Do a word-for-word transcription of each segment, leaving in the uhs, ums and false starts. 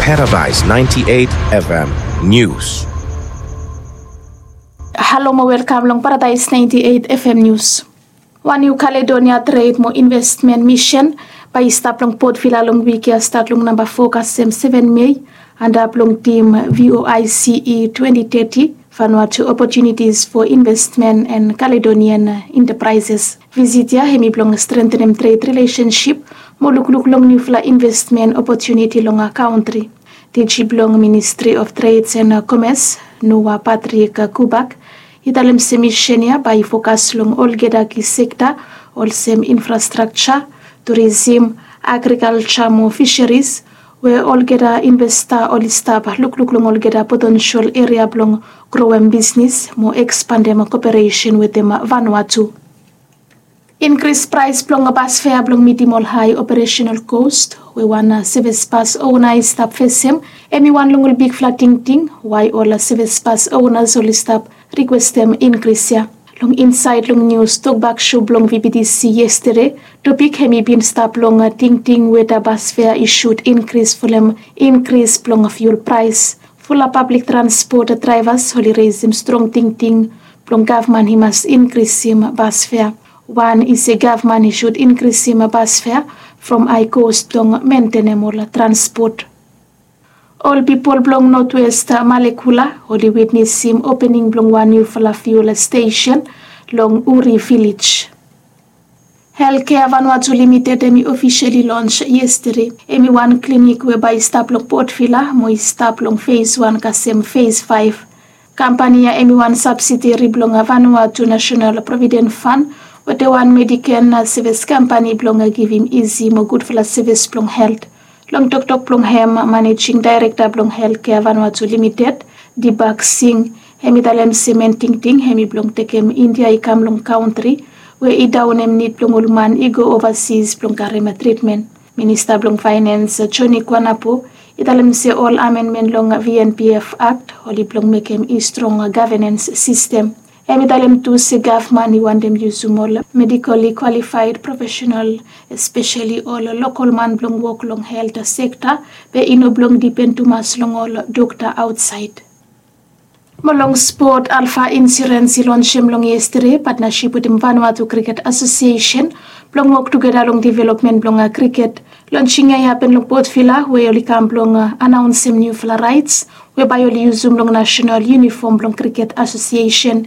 Paradise ninety-eight F M News. Halo mo welkam long Paradise ninety-eight F M News. Wan New Caledonia Trade mo Investment Mission bae i stap long Port Vila long wik ia stat long namba fo kasem seven Mei, antap long tim V O I C E twenty thirty, Vanuatu Opportunities for Investment and Caledonian Enterprises. Visit ia hemi blong strengthenem trade relationship mo lukluk long niufala investment opportunity long a country. Diji blong Ministry of Trades and Commerce, Noah Patrick Kubak, i talem se mission ia bae i fokas long olgeta ki sekta olsem infrastructure, tourism, agriculture mo fisheries, we olgeta investa oli stap lukluk long olgeta potential area blong growem business mo expandem cooperation wetem Vanuatu. Increase price blong bus fare blong mitim ol high operational cost we wan service bus owner i stap fesem, hemi wan long ol bigfala tingting why ol service bus owners oli stap requestem increase ia. Long inside long news tokbak show blong V B T C yesterday, topic hemi bin stap long tingting weda bus fare i should increase folem increase blong fuel price. Fulap public transport drivers oli reisem strong tingting blong gavman i mas inkrisim bas fea. Wan i se gavman i sud inkrisim bas fea from high cost blong mentenem ol transport. Ol pipol blong Northwest Malekula oli witnesim opening blong wan niufala fuel stesen long Uri Village. Healthcare Vanuatu Limited hemi officially launch yesterday. Hemi wan klinik we bae i stap long Port Vila mo i stap long phase one kasem phase five. Kampani ia hemi wan subsidiary blong Vanuatu National Provident Fund wetem wan Medicaid service kampani blong givim isi mo gudfala service blong health. Long toktok blong hem managing director blong Healthcare Vanuatu Limited, Dibak Singh, hemi talem se main tingting hemi blong tekem India i kam long kantri we i daonem nid blong ol man i go ovasis blong karem tritmen. Minista blong Finance Johnny Kwanapo i talem se ol amendment long V N P F Act oli blong mekem i strong governance system. Hemi talem tu se gavman i wantem yusum ol medically qualified professional, especially ol local man blong wok long health sector, be i no blong dipen tumas long ol dokta aotsaed. Mo long spot, Alpha Insurance i lonsem long yesterday partnership wetem Vanuatu Cricket Association blong wok tugeta long development blong cricket. Lonsing ia i hapen long Port Vila we oli kam blong anaonsem niufala raets we bae oli yusum long national uniform blong Cricket Association.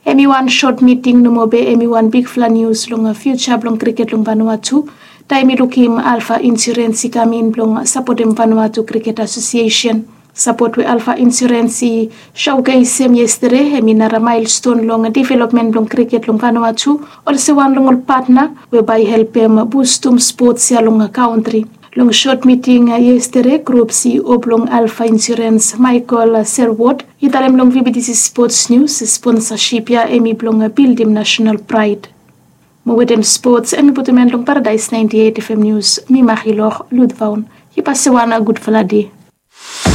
Hemi wan sot miting nomo be hemi wan bigfala nius long future blong cricket long Vanuatu taem i lukim Alpha Insurance i kam in blong sapotem Vanuatu Cricket Association. Sapot we Alpha Insurance i showcasem yesterday hemi nara milestone long development blong cricket long Vanuatu olsem wan long ol patna we bae i helpem bustum spots ia long kantri. Long sot miting yesterday, grup C E O blong Alpha Insurance, Michael Serwood, i talem long V B T C Sports News se sponsasip ia hemi blong bildim national praed. Mo wetem spots hemi putum en long Paradise ninety eight F M News, mi Marilor Ludvaun. Yu pase wan gudfala dei.